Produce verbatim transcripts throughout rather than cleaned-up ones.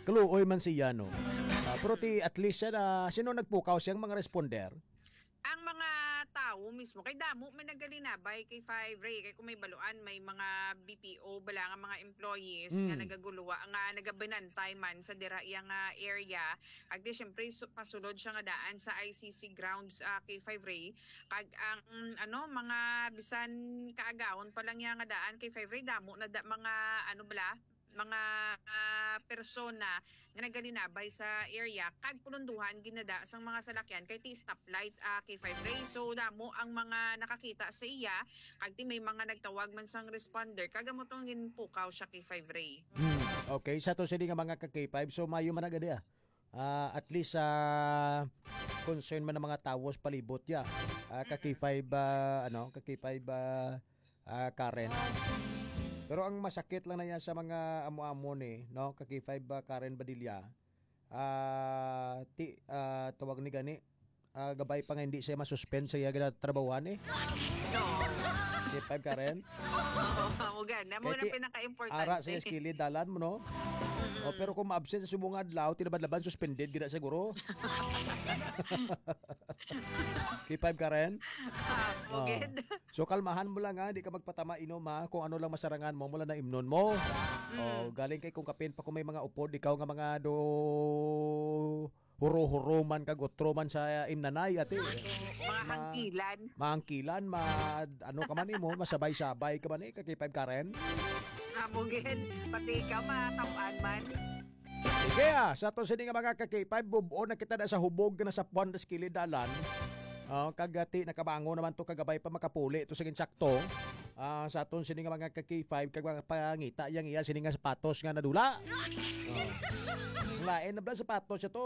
Kaluoy man siya, no? Ah, pero ti, at least siya na, sino nagpukaw siyang mga responder? Ang mga tawo mismo, kay damo may nagalinabay kay Five Ray, kay kung may baluan, may mga B P O bala nga mga employees nga Mm. nagaguluwa, nga nagabinantay man sa dira iya nga area. Agdi, syempre, su-, pasulod siya nga daan sa I C C grounds, ah, kay Five Ray. Kag ang, ano, mga bisan kaagahon pa lang iya nga daan kay Five Ray, damo na da, mga, ano bala, mga, ah, persona nga nagalinabay sa area, kag pulunduhan ginada sang mga salakyan kay ti stoplight, ah, kay Five Ray. So, damo ang mga nakakita sa iya, kag ti may mga nagtawag man sang responder, kag amo tong ginpukaw siya kay Five Ray. Hmm, okay. Sa to sini nga mga ka K five, so mayo man na gani, ah. Ah, at least, ah, concern man ang mga tawo sa palibot ya. Ah, ka K five, ah, ano, ka K five, ah, ah, Karen. Pero ang masakit lang na yan sa mga amo-amo ni, no, ka K five, ah, Karen Badilla, ah, ti, ah, tawag ni gani, ah, gabay pa nga hindi siya masuspend sa iya ginatrabahuan eh. No. K five Karen. Oo, amo gani. Amo Kay na ti-, pinaka-importante. Ara sa iya sa kilid, dalan mo, no? Mm-mm. Oh, pero kung ma-absent sa subong adlaw, tinabad-laban, suspended gina siguro. K five Karen. Ah, Oh. Bugid. So, kalmahan mo lang, ha. Di ka magpatama inom, ha. Kung ano lang masarangan mo, mula na imnon mo. Mm. Oh, galing kay kung kapin pa kung may mga upod, ikaw nga mga do huro-huro man kag utro man sa imnanay, ate. Mga Ma-, hangkilan. Mahangkilan, ma-, ano ka man, eh, mo, masabay-sabay ka man, eh, ka K five Karen. Amo gid, pati ikaw, matamaan man. Sige, ah, sa to sini nga mga ka K five, bub-on na kita na sa hubog nga nasa puwan, sa kilid dalan. Oh, kag, ah, ti, nakabango naman to, kagabay pa makapuli to sa insakto. Ah, sa aton sini nga mga ka K five, kag mga pangita yang iya sini nga sapatos nga nadula. Oh. Ang lain na bala sapatos siya to,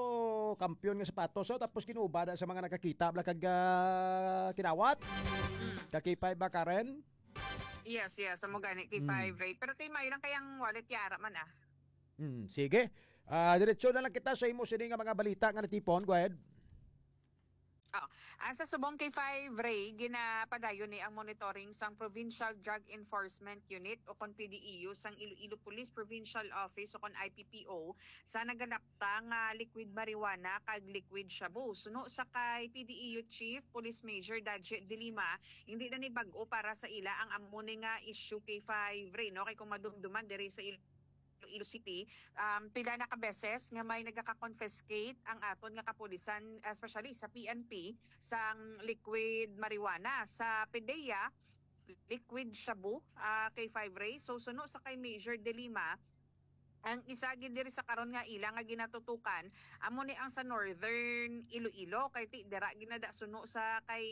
kampiyon nga sapatos, oh, tapos kinuba na sa mga nakakita bala kag, ah, kinawat. Ka K five ba, Karen? Yes, yes, amo gani, K five, Mm. Ray. Pero ti, may lang kayang wallet, yara man, ah. Mm, sige. Ah, diretso na lang kita sa imo sini nga mga balita nga natipon. Go ahead. Oh, ah, sa subong K five, Ray, ginapadayon ni ang monitoring sang Provincial Drug Enforcement Unit o kon P D E U sang Iloilo Police Provincial Office o kon I P P O sa nagalapta nga liquid marijuana kag liquid shabu. Suno sa kay P D E U Chief Police Major Daji De Lima, hindi na ni bag-o para sa ila ang amo ni nga issue, K five, Ray, no? Kay kung madumduman diri sa Iloilo City, um, pila na ka beses nga may nagaka-confiscate ang aton nga kapulisan, especially sa P N P, sang liquid marijuana. Sa PDEA, liquid shabu, ah, K five, Ray. So, suno sa kay Major De Lima, ang isa gid diri sa karon nga ila nga ginatutukan, amo ni ang sa Northern Iloilo, kay ti, dira ginada suno sa kay,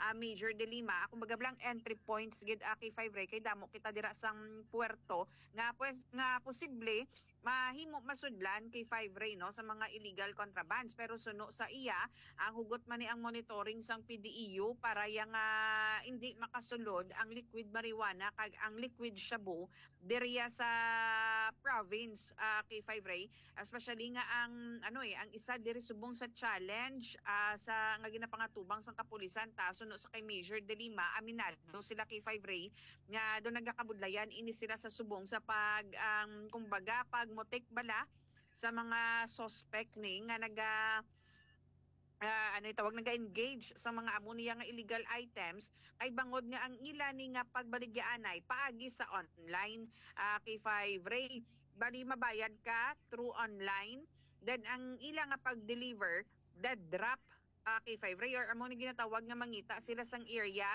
ah, Major De Lima, kumbaga lang entry points gid, ah, K five, Ray, kay damo kita dira sang puerto nga, pues, nga posible mahimo masudlan, K five, Ray, no, sa mga illegal contrabands. Pero suno sa iya, ang hugot man ni ang monitoring sang P D E U para ya nga hindi makasulod ang liquid marijuana kag ang liquid shabu diriya sa province, ah, K five, Ray, especially nga ang, ano, eh, ang isa diri subong sa challenge, ah, sa nga ginapangatubang sang kapulisan, ta, suno sa kay Major De Lima, aminado sila, K five, Ray, nga do nagakabudlayan ini sila sa subong sa pag, ang, kumbaga, pagmutik bala sa mga suspect ni nga naga, ah, ano yung tawag, naga-engage sa mga amo niya nga illegal items, kay bangod nga ang ila ni nga pagbaligyaanay paagi sa online, ah, K five, Ray. Bali, mabayad ka through online, then ang ila nga pag-deliver, the drop, ah, K five, Ray, or amo ni ginatawag nga mangita sila sang area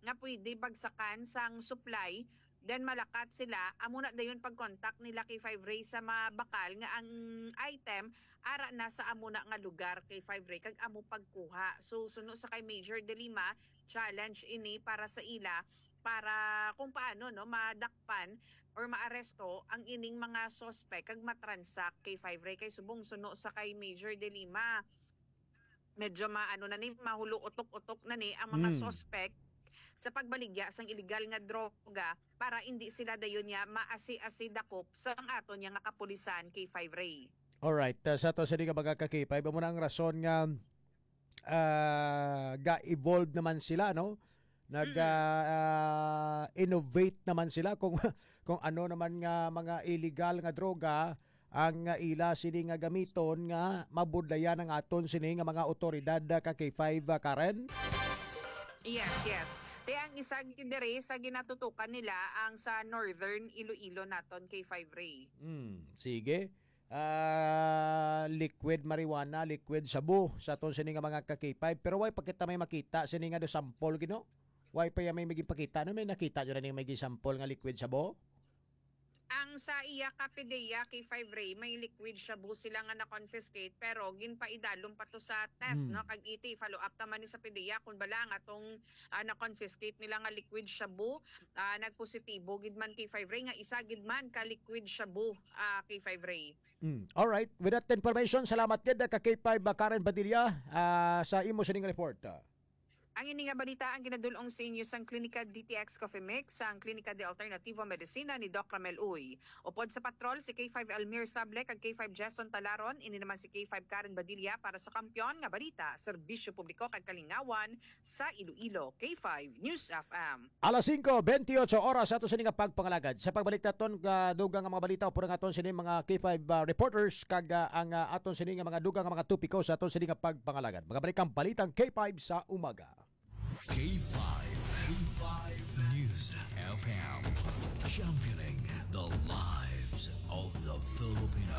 nga pwede bagsakan sang supply, then malakat sila, amo na dayon pag-contact nila, K five, Ray, sa mabakal nga ang item ara na sa amo na nga lugar, K five, Ray, kag amo pagkuha. So, suno sa kay Major De Lima, challenge ini para sa ila, para kung paano, no, madakpan or maaresto ang ining mga suspect kag matransak, K five, Ray, kay subong suno sa kay Major De Lima, medyo maano na ni, mahulo utok-utok na ni ang mga Mm. suspect sa pagbaligya sang illegal nga droga para hindi sila dayon niya maasi-asi dakop sa ang aton niya nga kapulisan, K five, Ray. Alright, uh, sa to sa di ka mga ka-K five, amo na ang rason nga, ah, ga-evolve naman sila, no? Nag, Mm. ah, ah, innovate naman sila kung, kung ano naman nga mga illegal nga droga ang, ah, ila sini nga gamiton nga mabudlayan ang aton sini nga mga awtoridad, ah, ka K five, ah, Karen? Yes, yes. Te, ang isa gid diri sa ginatutukan nila ang sa Northern Iloilo naton, K five Ray. Hmm, sige. Ah, liquid marijuana, liquid shabu sa aton sini nga mga ka K five. Pero why pa kita may makita sini nga do sample, Gino? Why pa ya may magipakita? Ano may nakita nyo na ning may gisample nga liquid shabu? Ang sa iya ka PDEA, K five Ray, may liquid shabu sila nga na-confiscate, pero ginpaidalom pa to sa test, Hmm. no? Kag iti, follow up ta man ni sa PDEA kung bala nga tong, ah, na-confiscate nila nga liquid shabu, ah, nagpositibo gid man, K five Ray, nga isa gid man ka liquid shabu, ah, K five Ray. Mm. Alright. With that information, salamat gid ka K five, ah, Karen Padilla, ah, sa imo sining report. Ang ini nga balita ang ginadul-ong sa inyo sang Klinika D T X Coffee Mix, sang Klinika de Alternativo Medicina ni Doc Ramel Uy. Upod sa patrol, si K five Elmir Sable kag K five Jason Talaron, ini naman si K five Karen Badilla para sa Kampiyon nga Balita, Serbisyo Publiko kag Kalingawan sa Iloilo, K five News F M. Alas singko bentiocho oras sa aton sini nga pagpangalagad. Sa pagbalik naton nga dugang nga mga balita, upod ang aton sini mga K five, ah, reporters kag, ah, ang, ah, aton sini nga mga dugang nga mga topiko sa aton sini nga pagpangalagad. Magabalik ang balitang K five sa umaga. K five, K five News F M, championing the lives of the Filipino.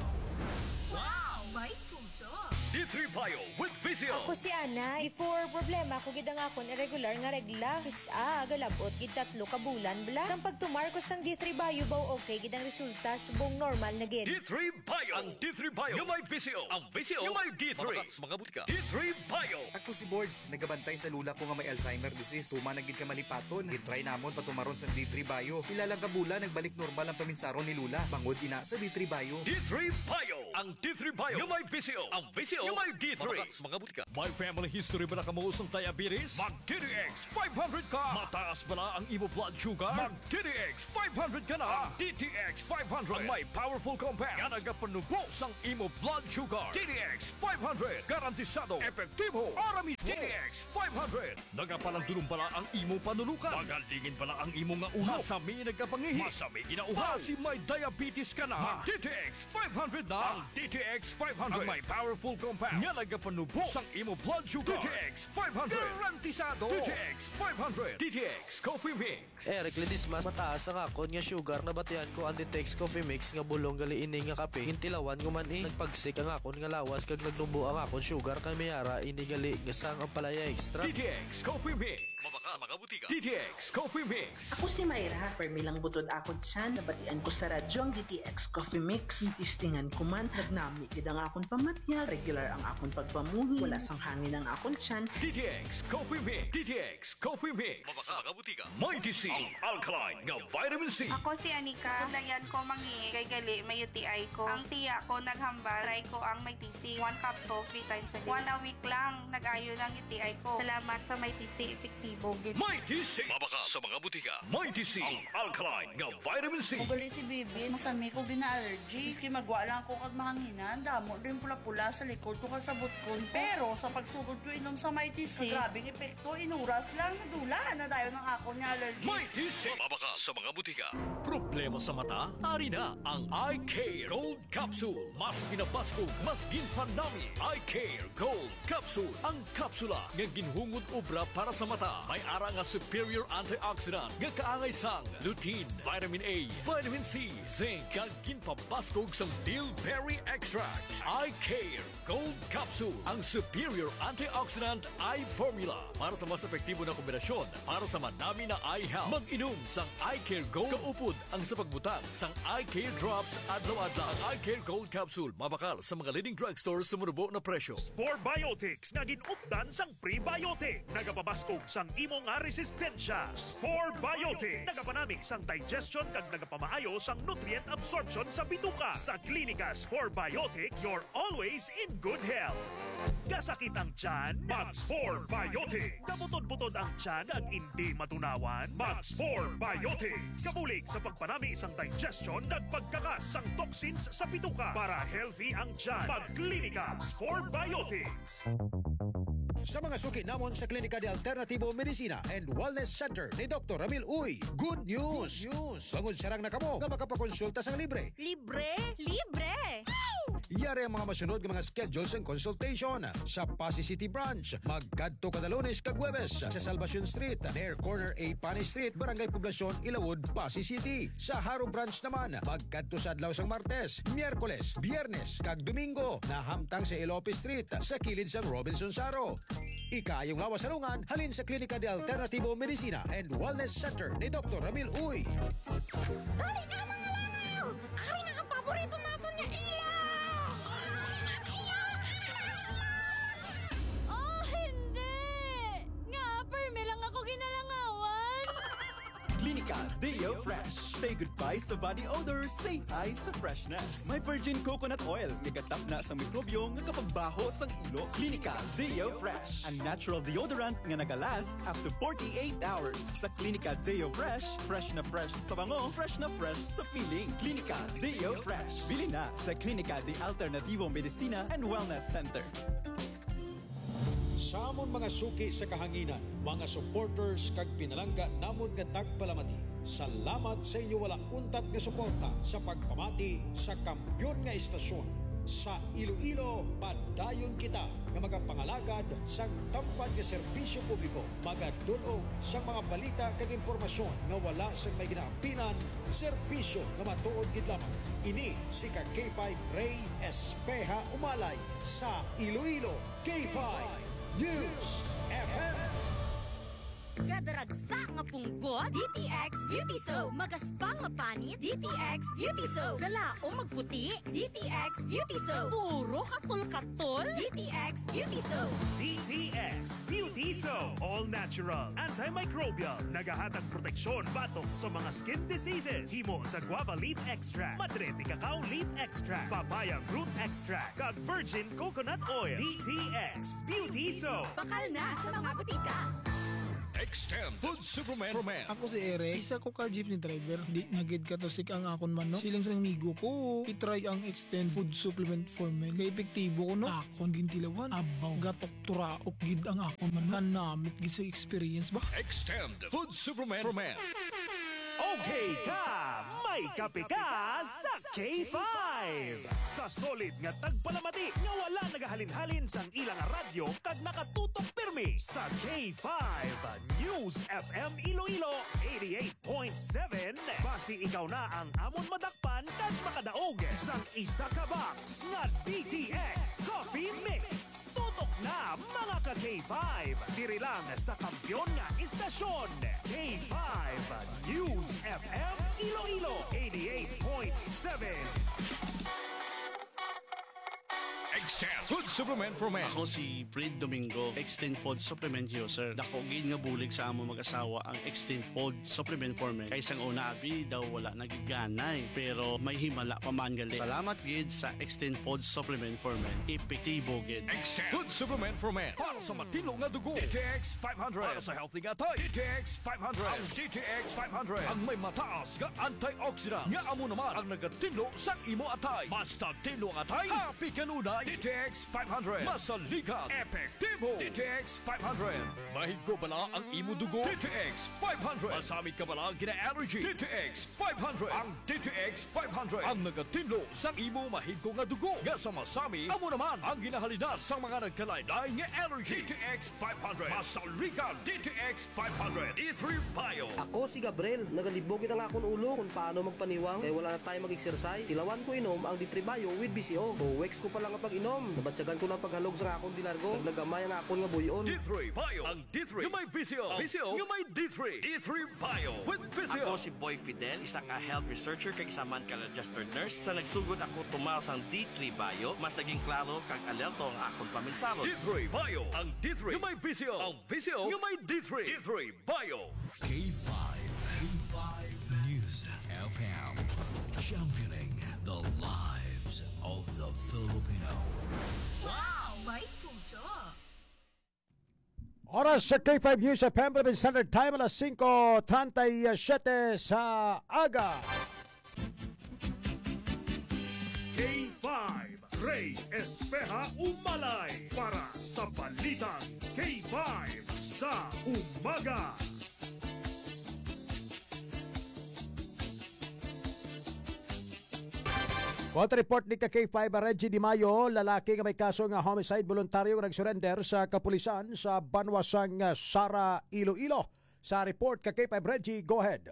Wow! May puso! D three Bio with V C O. Ako si Ana. Before, problema ko gid ang akon irregular nga regla. Kis-a, galab-ot gid tatlo ka bulan bala. Sang pagtumar ko sang D three Bio, baw okay gid ang resulta, subong normal na gid. D three Bio. Ang D three Bio nga may V C O. Ang V C O nga may D three. Mabaka sa mga butika. D three Bio. Ako si Borge, nagabantay sa lula ko nga may Alzheimer disease. Tuman na gid ka malipaton. Gitry namon patumaron sang D three Bio. Pila lang ka bulan, nagbalik normal ang paminsaron ni lula. Bangod ina sa D three Bio. D three Bio. Ang D three Bio nga may V C O. Ang V C O nga may D three. Mabaka sa mga butika. May family history bala kamo sang diabetes? Mag D T X five hundred ka. Mataas bala ang imo blood sugar? Mag D T X five hundred ka na. Ang D T X five hundred ang may powerful compound nga nagapanubo sang imo blood sugar. D T X five hundred, garantisado, epektibo, para mismo. D T X five hundred, nagapalandulong bala ang imo panulukan? Magalingin bala ang imo nga ulo? Masami nagapangihi? Masami ginauhaw? Basi may diabetes ka na? Mag D T X five hundred na. Ang D T X five hundred ang may powerful compound nga nagapanubo sang imo blood sugar. D T X five hundred, garantisado. D T X five hundred, D T X Coffee Mix. Eric Ledesma, mataas ang akon nga sugar. Nabatian ko ang D T X Coffee Mix nga bulong gali ini nga kape. Gintilawan ko man, eh. Nagpagsik ang akon nga lawas kag nagnubo ang akon sugar, kay may ara ini gali nga sang ampalaya extra. D T X Coffee Mix. Mabaka sa mga butika. D T X Coffee Mix. Ako si Myra. Permi lang butod akon tiyan. Nabatian ko sa radyo ang D T X Coffee Mix. Testingan ko man, nagnami gid ang akon pamatyag. Regular ang akon pagpamuhi. Wala sang hangin ang akon tiyan. D T X Coffee Mix. D T X Coffee Mix. Mabaka sa mga butika. Mighty C, ang alkaline nga vitamin C. Ako si Anika. Dayan ko mangihi kay gali may U T I ko. Ang tiya ko naghambal, try ko ang Mighty C. One capsule, three times a day. One a week lang, nag-ayo lang U T I ko. Salamat sa Mighty C, epektibo gid. Mighty C. Mabaka sa mga butika. Mighty C, ang alkaline nga vitamin C. Ugali si Bibi, masami ko gina-allergy. Maski magwa lang ko kag mahanginan, damo din pula-pula sa likod ko kag sa butkon ko. Pero sa pagsugod ko inom sa Mighty C, grabe ang epekto, inuras lang, nadula na dayon ang akon nga allergy. Mighty C. Mabaka sa mga butika. Problema sa mata? Ari na ang Eye Care Gold Capsule. Mas pinabaskog, mas ginpanami. Eye Care Gold Capsule. Ang kapsula nga ginhungod obra para sa mata. May ara nga superior antioxidant nga kaangay sang lutein, vitamin A, vitamin C, zinc, kag ginpabaskog sang bilberry extract. Eye Care Gold Capsule, ang superior antioxidant eye formula para sa mas epektibo na kombinasyon para sa manami na eye health. Mag-inom sang Eye Care Gold kaupod ang sa pagbutang sang Eye Care Drops adlaw-adlaw. Ang Eye Care Gold Capsule mabakal sa mga leading drugstore sa manubo na presyo. Spore Biotics nga gin-updan sang prebiotic. Nagapabaskog sang imo nga resistensya. Spore Biotics. Nagapanami sang digestion kag nagapamaayo sang nutrient absorption sa bituka. Sa Klinika Spore Biotics, you're always in good health. Kasakit ang tiyan? Mag Spore Biotics. Kabutod-butod ang tiyan kag indi matunawan? Mag Spore Biotics. Kabulig sa pagpanami sang digestion kag pagkakas sang toxins sa bituka. Para healthy ang tiyan, mag Klinika Spore Biotics. Sa mga suki namon sa Klinika de Alternativo Medicina and Wellness Center ni Doktor Ramil Uy, good news! Good news! Bangod sarang na kamo nga makapakonsulta sang libre. Libre? Libre! Ari ang mga masunod nga mga schedule sang consultation. Sa Passi City Branch, magkadto kada Lunes kag Huwebes sa Salvacion Street, near corner A Pani Street, Barangay Poblacion, Ilawod, Passi City. Sa Jaro Branch naman, magkadto sa adlaw sang Martes, Miyerkules, Biyernes, kag Domingo, nahamtang sa Elope Street, sa kilid sang Robinson Jaro. Ikaayong lawas sa lungan halin sa Klinika de Alternativo Medicina and Wellness Center ni Doktor Ramil Uy. Dali na, mga langaw! Ari na ang paborito naton nga ilaw! Oh, hindi! Nga, permi lang ako ginalangawan! Klinika Deo Fresh. Say goodbye sa body odor, say hi sa freshness. May virgin coconut oil nga gatapna sa mikrobyo nga kapagbaho sang ilo. Klinika Deo Fresh, a natural deodorant nga nagalast up to forty-eight hours. Sa Klinika Deo Fresh, fresh na fresh sa bango, fresh na fresh sa feeling. Klinika Deo Fresh. Bili na sa Klinika de Alternativo Medicina and Wellness Center. Sa amon mga suki sa kahanginan, mga supporters kag pinalangga namon nga tagpalamati, salamat sa inyo wala untat nga suporta sa pagpamati sa kampiyon nga estasyon. Sa Iloilo, padayon kita nga magapangalagad sang tampad nga serbisyo publiko, magadul-ong sang mga balita kag impormasyon nga wala sang may ginaampinan, serbisyo nga matuod gid lamang. Ini si ka K five Rey Espeha Umalay sa Iloilo. K five News F M. Gadaragsa nga punggot, D T X Beauty Soap. Magaspa nga panit, D T X Beauty Soap. Galaom magputi, D T X Beauty Soap. Puro katol-katol, D T X Beauty Soap. D T X Beauty Soap. All natural, antimicrobial. Nagahatag proteksyon batok sa mga skin diseases. Himo sa guava leaf extract, madre de cacao leaf extract, papaya fruit extract, kag virgin coconut oil. D T X Beauty Soap. Bakal na sa mga butika. Extend Food Supplement for Men. Ako si Eric, isa ko ka jeepney driver. Di na gid katusik ang akon manok. Siling sa amigo ko, i-try ang Extend Food Supplement for Men. Kay epektibo ko, no? Akon gintilawan. Abaw, gatok turaok gid ang akon manok. Kanamit gid sa experience ba? Extend Food Supplement for Men. Okay ka, may kape ka sa K five. Sa solid nga tagpalamati nga wala nagahalin-halin sang ilang radyo kag nakatutok pirmi sa K five News F M Iloilo eighty-eight point seven. Basi ikaw na ang amon madakpan kag makadaog sang isa ka box nga D T X Coffee Mix. Tutok na, mga ka K five! Diri lang sa kampiyon nga istasyon, K five News F M Iloilo eighty-eight point seven. Extend Food Supplement for Men. Ako si Fred Domingo, Extend Food Supplement User. Dako gid nga bulig sa among mag-asawa ang Extend Food Supplement for Men. Kay sang una, abi, daw wala na gid ganay. Pero may himala pa man gali. Salamat gid sa Extend Food Supplement for Men. Epektibo gid. Extend Food Supplement for Men. Para sa matinlo nga dugo, D T X five hundred. Para sa healthy nga atay, D T X five hundred. Ang D T X five hundred ang may mataas nga antioxidant nga amo naman ang nagatinlo sa imo atay. Basta tinlo ang atay, happy kanunay. D T X five hundred. Masaligan. Epektibo. D T X five hundred. Mahigko bala ang imo dugo? D T X five hundred. Masami ka bala gina-allergy? D T X five hundred. Ang D T X five hundred ang nagatinlo sa imo mahigko nga dugo nga sa masami, amo naman ang ginahalinas sa mga nagkalain-lain nga allergy. D T X five hundred. Masaligan, D T X five hundred. D three Bio. Ako si Gabriel. Nagalibog gid ang akon ulo kung paano magpaniwang kay wala na tayo mag-exercise. Tilawan ko inom ang D three Bio with B C O. Two weeks ko pa lang ang pag-inom, nabatyagan ko na ang paghalog sa akon di largo. Naglagamay ang akon nga buy-on. D three Bio. Ang D three nga may V C O. V C O nga may D three. D three Bio with V C O. Ako si Boy Fidel, isa ka health researcher kag isa man ka registered nurse. Sa nagsugod ako tumaw sang D three Bio, mas naging klaro kag alerto ang akon paminsahon. D three Bio, ang D three nga may V C O. Ang V C O nga may D three. D three Bio. K five, K five News F M, championing the lives of the Filipino. Wow! May puso! Oras sa K five News F M, Philippine Standard Time, alas singko treinta y siete sa aga. K five, Rey Espeha Umalay para sa Balitang K five sa umaga. Court report ni ka K five Reggie Di Mayo, lalaki nga may kaso nga homicide, voluntaryo nga nag-surrender sa kapulisan sa banwa sang Sara, Iloilo. Sa report ka K five Reggie, go ahead.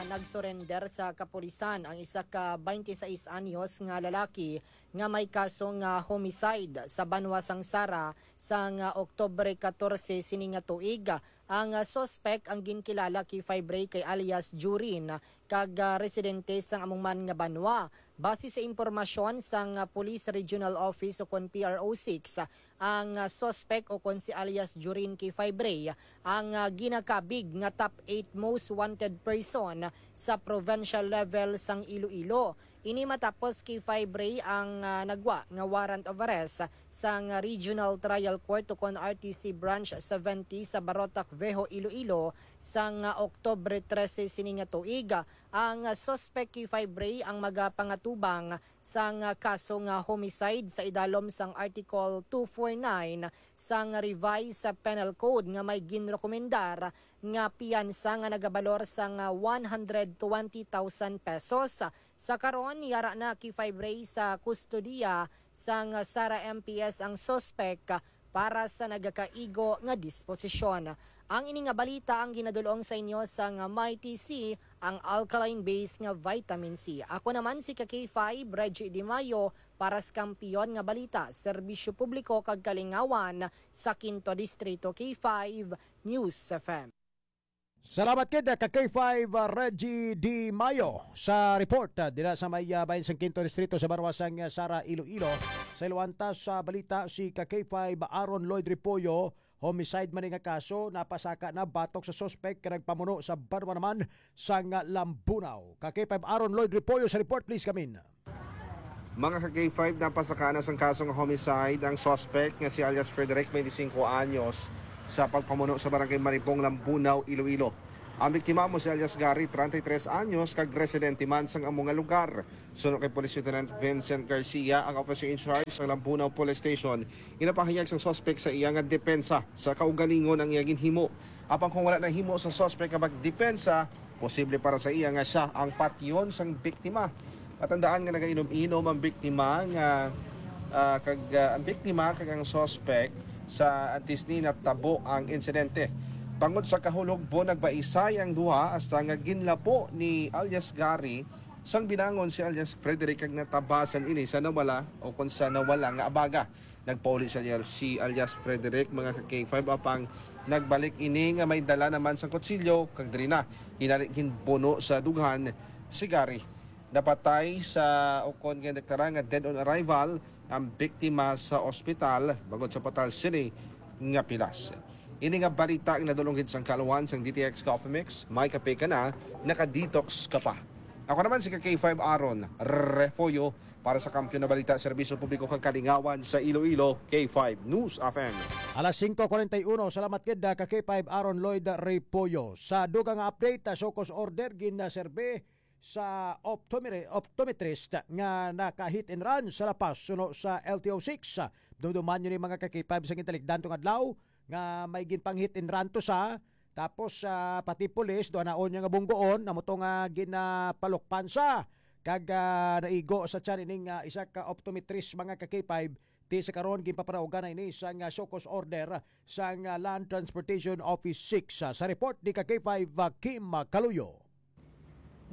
Nagsurrender sa kapulisan ang isa ka twenty-six anyos nga lalaki nga may kaso nga homicide sa banwa sang Sara sang Oktubre katorse sini nga tuig. Ang suspect ang ginkilala kay Fibre kay alias Jurin kag ah, residente sang among man nga banwa. Base sa impormasyon sang ah, Police Regional Office o kon P R O six, ang ah, suspect o kon si alias Jurin K five Ray ang ah, ginakabig nga top eight most wanted person sa provincial level sang Iloilo. Ini matapos kay five Ray ang ah, nagwa nga warrant of arrest sang Regional Trial Court o kon R T C Branch seventy sa Barotac Viejo, Iloilo sang ah, Oktubre trese sini nga tuig. Ang suspect kay five Ray ang magapangatubang sang kaso nga homicide sa idalom sang Article two four nine sang Revised Penal Code nga may ginrekomendar nga piyansa nga nagabalor sang one hundred twenty thousand pesos. Sa karon, yara na kay five Ray sa kustodiya sang Sara M P S ang suspect para sa nagakaigo nga disposisyon. Ang ini nga balita ang ginadul-ong sa inyo sang Mighty C, ang alkaline base nga vitamin C. Ako naman si ka K five, Reggie Di Mayo, para sa Kampiyon nga Balita, Serbisyo Publiko kag Kalingawan sa Quinto Distrito, K five News F M. Salamat kid ka K five, uh, Reggie Di Mayo sa report, uh, dira sa may uh, bayan sang Quinto Distrito sa Barwasang uh, Sara, Iloilo. Sa iluanta sa balita, si ka K five Aaron Lloyd Repollo, homicide man nga kaso, napasaka na batok sa suspek nga nagpamuno sa banwa naman sang Lambunao. Ka K five Aaron Lloyd Repollo sa report, please, kamin. Mga ka K five, napasaka na sang kaso nga homicide ang suspect nga si alias Frederick, twenty-cinco anyos, sa pagpamuno sa Barangay Maribong, Lambunao, Iloilo. Ang biktima mo si alias Gary, treinta y tres anyos, kag residente man sang amo nga lugar. Suno kay Police Lieutenant Vincent Garcia, ang officer in charge sang Lambunao Police Station, ginapahayag sang suspect sa iya nga depensa sa kaugalingon ang iya ginhimo. Apang kung wala nahimo sang suspect nga magdepensa, posible para sa iya nga siya ang patyon sang biktima. Matandaan nga nagainom-inom ang biktima nga ah, kag ah, ang biktima kag ang suspect sa antes ni natabo ang insidente. Bangod sa kahulogbo, nagbaisay ang duha hasta nga ginlapo ni alias Gary sang binangon si alias Frederick kag natabasan ini sa nawala o kon sa nawala nga abaga. Nagpauli sa alias, si alias Frederick, mga ka K five, apang nagbalik ini nga may dala naman sang kutsilyo kag diri na hinari ginbuno sa dughan si Gary. Napatay sa ukon nga deklara nga dead on arrival ang biktima sa ospital bangod sa patal sini nga pilas. Ini nga balita ang nadulong gid sang kaluan sang D T X Coffee Mix, may kape ka na, naka-detox ka pa. Ako naman si ka K five Aaron Refollo para sa Kampiyon na Balita, Serbisyo Publiko kag Kalingawan sa Iloilo, K five News F M. Alas singko kuwarenta y uno, salamat gid ka K five Aaron Lloyd Repollo. Sa dugang nga update, ah, show cause order gin, ah, serbe sa optomere-, optometrist nga naka-hit and run sa La Paz suno sa L T O six. Dumduman nyo ni mga ka-K five sa gintalikdan tong adlaw nga may ginpang-hit and run to sa, tapos ah, pati pulis, duha na unya nga bunggoon, amo to nga ginapalukpan sa kag ah, naigo sa tiyan ining ah, isa ka optometrist, mga ka-K five. Ti sa karon, ginpapanaugan na ini sang ah, show cause order sang ah, Land Transportation Office six. Ah, sa report ni ka K five, ah, Kim Caluyo.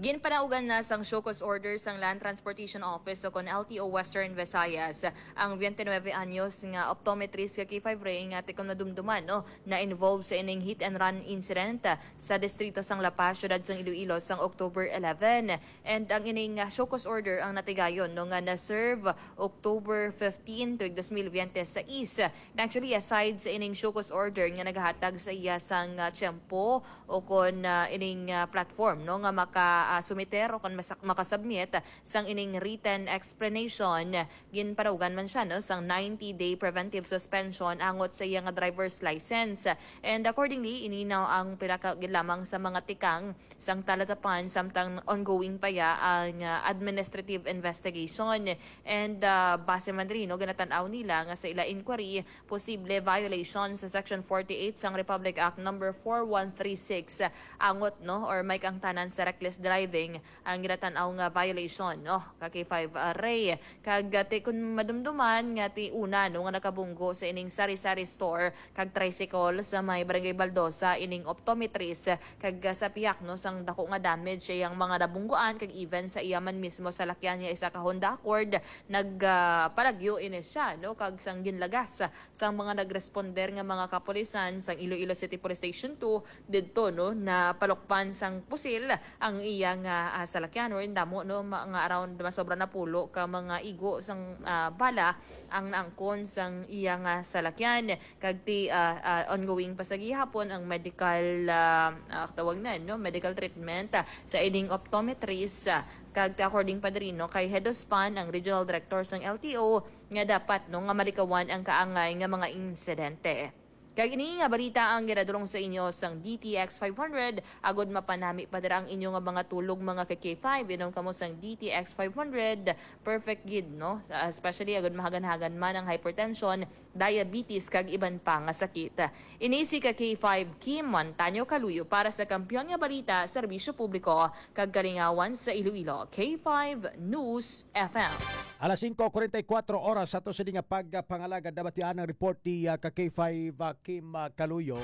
Ginpanaugan na sang show cause order sang Land Transportation Office o kon L T O Western Visayas ang twenty-nine anyos nga optometrist nga K five Ray nga tikon madumduman, no, na-involve sa ining hit and run incident sa distrito sang La Paz, siyudad sang Iloilo, sang October eleven. And ang ining, ah, show cause order ang natigayon, no, nga na-serve October fifteen, tuig dos mil biyente sais. Actually, aside sa ining show cause order nga nagahatag sa iya sang, ah, tiyempo o kon, ah, ining, ah, platform, no, nga maka ah, sumiter o kon masak-, makasubmit sang ining written explanation, ginparugan man siya, no, sang ninety-day preventive suspension angot sa iya nga driver's license. And accordingly, ini na ang pila ka gid lamang sa mga tikang sang talatapan, samtang ongoing pa ya ang, ah, administrative investigation. And, ah, base man diri, no, ginatan-aw nila nga sa ila inquiry, posible violation sa Section forty-eight sang Republic Act Number four one three six, angot, no, or may kaangtanan sa reckless driving ang ginatan-aw nga violation, no, ka K five, ah, Ray. Kag, ah, ti kun madumduman nga ti una, no, nga nakabunggo sa ining sari-sari store kag tricycle sa may Barangay Baldosa ining optometrist, kag, ah, sa pihak, no, sang dako nga damage sa iyang mga nabungguan kag even sa iya man mismo salakyan nga isa ka Honda Accord, nag, ah, palagyo ini siya, no, kag sang ginlagas sang mga nagresponder nga mga kapulisan sang Iloilo City Police Station two didto, no, napalukpan sang pusil ang iya nga, ah, salakyan, wherein damo, no, ma-, nga around masobra na pulo ka mga igo sang, ah, bala ang naangkon sang iya nga salakyan. Kag ti, ah, ah, ongoing pa sa gihapon ang medical, ah, ah, tawag na, no, medical treatment, ah, sa ining optometrist, ah, kag ti according pa diri, no, kay Head Ospan, ang regional director sang L T O, nga dapat, no, nga malikawan ang kaangay nga mga insidente. Kag ini nga balita ang ginadulong sa inyo sang D T X five hundred, agud mapanami pa dira ang inyo nga mga tulog, mga ka K five. Inom kamo sang D T X five hundred, perfect gid, no? Sa, especially agud mahagan-hagan man ang hypertension, diabetes, kag iban pa nga sakit. Ini si ka K five Kim Montaño Kaluyo para sa Kampiyon nga Balita, Serbisyo Publiko, kag Kalingawan sa Iloilo, K five News F M. Alas singko kuwarenta y kuwatro oras sa ato sini nga pagpangalagad, nabatian ang report ni, ah, ka K five, ah, Kim, ah, Kaluyo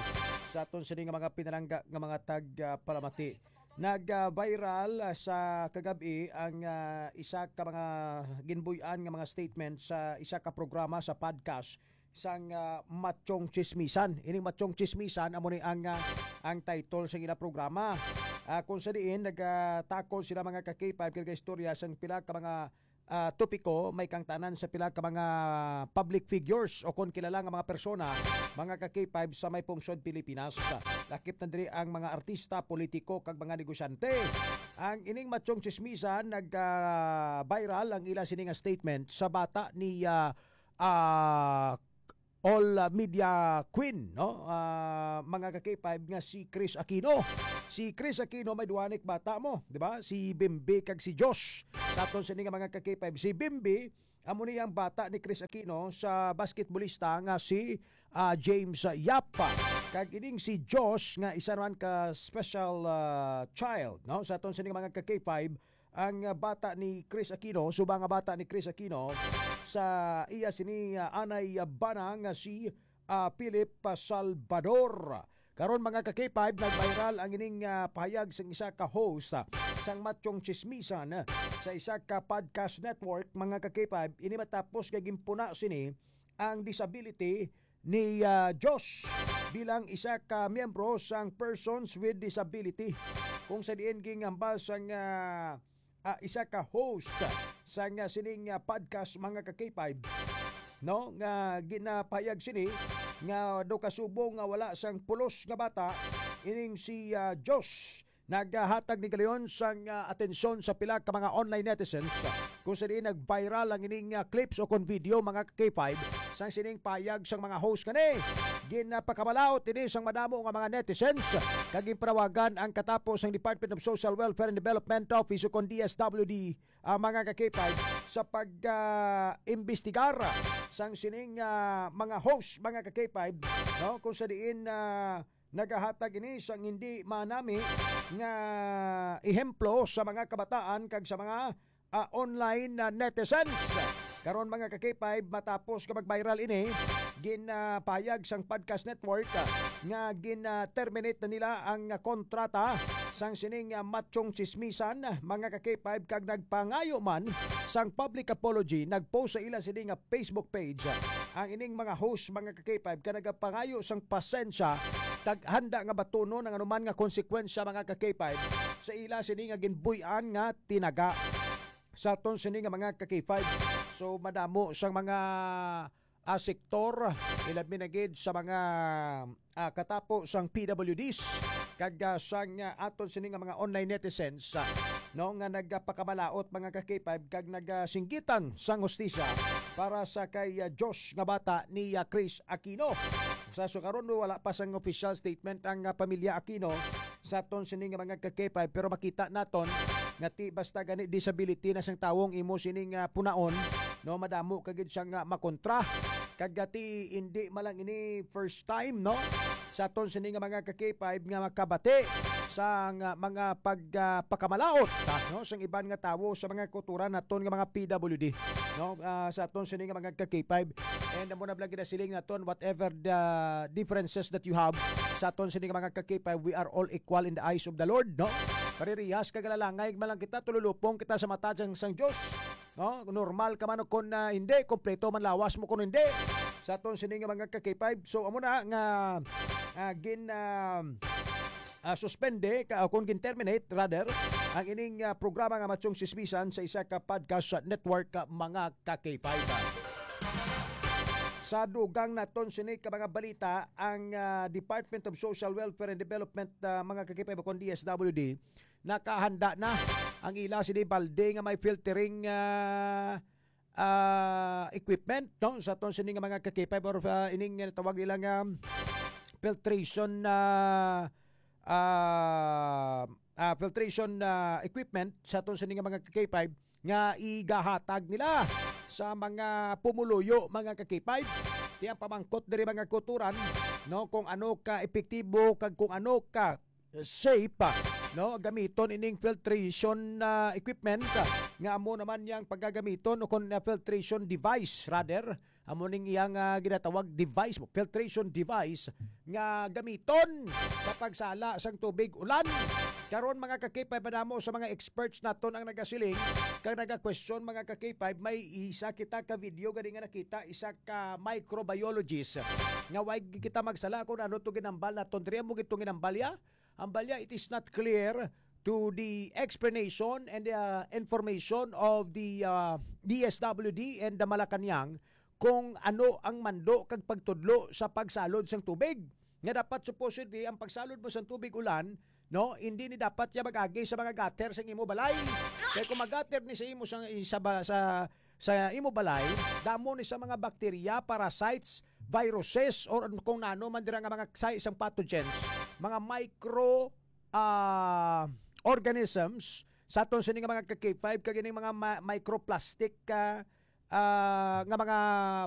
sa aton sini nga mga pinalangga nga mga tag, ah, palamati. Nag, ah, viral, ah, sa kagab-i ang, ah, isa ka mga ginbuy-an nga mga statement sa isa ka programa sa podcast sang, ah, Machong Chismisan. Ining Machong Chismisan amo ni ang, ah, ang title sa ila programa. Ah, kung sa diin nagatakod sila, mga ka K five, kag istorya sang pila ka mga, ah, topiko may kangtanan sa pila ka mga public figures o kon kilala nga mga persona, mga ka K five, sa may pungsod Pilipinas. Lakip na diri ang mga artista, politiko, kag mga negosyante. Ang ining Machong Chismisan nag, ah, viral ang ila sini nga statement sa bata ni, ah, ah, all, ah, media queen, no? Ah, mga ka K five, nga si Chris Aquino. Si Chris Aquino may duha ni ka bata mo, di ba? Si Bimbi kag si Josh. Sa aton sini nga mga ka K five, si Bimbi amo ni ang bata ni Chris Aquino sa basketbolista nga si, ah, James Yap. Kag ining si Josh nga isa naman ka special, ah, child, no? Sa aton sini nga mga ka K five, ang, ah, bata ni Chris Aquino, subang nga bata ni Chris Aquino, sa iya sini, ah, anay, ah, bana nga si, ah, Philip, ah, Salvador. Karon, mga ka K five, nag-viral ang ining, ah, pahayag sang isa ka host, ah, sang Machong Chismisan, ah, sa isa ka podcast network, mga ka K five, ini matapos nga ginpuna sini ang disability ni, ah, Josh bilang isa ka miyembro sang Persons with Disability, kung sa diin ginhambal sang, ah, ah, isa ka host sang, ah, sining, ah, podcast, mga ka K five, no, nga ginapahayag sini nga daw kasubong nga wala sang pulos nga bata ining si, ah, Josh. Naghatag ni galion sang, ah, atensyon sa pila ka mga online netizens, kung sa diin nag-viral ang ining, ah, clips o kon video, mga ka K five, sang sining pahayag sang mga host kani. Ginpakamalaut ini sang madamo nga mga netizens, kag ginpanawagan ang katapo sang Department of Social Welfare and Development Office o kon D S W D, ah, mga ka K five, sa pag, ah, imbestigar sang sining, ah, mga host, mga ka K five, no, kung sa diin, ah, nagahatag ini sang hindi manami nga ehemplo sa mga kabataan kag sa mga, ah, online na netizens. Karon, mga ka K five, matapos nga mag-viral ini, ginapahayag sang Podcast Network, ah, nga gin-terminate na nila ang, ah, kontrata sang sining, ah, Machong Chismisan, ah, mga ka K five, kag nagpangayo man sang public apology. Nag-post sa ila sini nga Facebook page, ah, ang ining mga host, mga ka K five, ka nagapangayo sang pasensya kag handa nga batunon ang anuman nga konsekwensya, mga ka K five, sa ila sini nga ginbuy-an nga tinaga. Sa aton sini nga mga ka K five, so madamo sang mga, ah, sektor, ilabi na gid sa mga, ah, katapo sang P W Ds, kag ah, sang ah, aton sini nga mga online netizens, ah, no, nga nagpakamalaot, mga ka-K five, kag nagasinggitan sang hustisya para sa kay ah, Josh nga bata ni ah, Chris Aquino. Sa sukaron, wala pa sang official statement ang ah, pamilya Aquino sa aton sini nga mga ka-K five, pero makita naton nga ti basta gani disability na sang tawo ang imo sining ah, punaon, no, madamo ka gid siya nga makontra. Kag ti hindi man lang ini first time, no, sa aton sini nga mga ka-K five nga makabati sa nga mga pag ah, pakamalaot, ah, no, sang iban nga tawo sa mga kultura naton nga mga P W D, no, ah, sa aton sini nga mga ka-K five. And amo na lang ginasiling naton, whatever the differences that you have, sa aton sini nga mga ka-K five, we are all equal in the eyes of the Lord, no? Paririhas kag alalangay man lang kita, tululupong kita sa mata sang, sang Dios, no? Normal ka man o kon ah, hindi, kompleto man lawas mo kon hindi, sa aton sini nga mga ka-K five. So amo na nga ah, gin ah, ah, suspende ka, o kon gin-terminate rather, ang ining ah, programa nga Machong Sismisan sa isa ka podcast network, ah, mga ka-K five. Sa dugang naton sini ka mga balita, ang ah, Department of Social Welfare and Development, ah, mga ka-K five, o kon D S W D, nakahanda na ang ila sini balde nga may filtering ah, ah, equipment, no, sa aton sini nga mga ka-K five, or ah, ining tawag nila nga filtration, ah, ah, ah, filtration ah, equipment sa aton sini nga mga ka-K five nga igahatag nila sa mga pumuluyo, mga ka-K five. Ti ang pamangkot diri, mga kulturan, no, kung ano ka epektibo kag kung ano ka safe, ah, no, gamiton ining filtration ah, equipment, ah, nga amo naman yang pagagamiton, o kon ah, filtration device rather, amo ning iyang ah, ginatawag device, filtration device nga gamiton sa pagsala sang tubig ulan. Karon, mga ka-K five, padamo sa mga experts naton ang nagasiling kag naga-question, mga ka-K five, may isa kita ka video gani nga nakita, isa ka microbiologist nga way kita magsala kung ano to ginambal naton diri. Amo gid tong ginambal ya. Ang balya, it is not clear to the explanation and the uh, information of the uh, D S W D and the Malacañang kung ano ang mando kag pagtudlo sa pagsalod sang tubig. Nga dapat supposedly ang pagsalod mo sang tubig ulan, no, hindi ni dapat siya mag-agi sa mga gutter sa imo balay. Kay kung mag-gutter ni sa imo sa, sa, ba- sa sa imo balay, damo ni sa mga bakterya, parasites, viruses, or kung nano man dira nga mga sa isang pathogens, mga micro ah, organisms sa aton sini nga mga ka-K five, kag ining mga ma- microplastic ah, ah, nga mga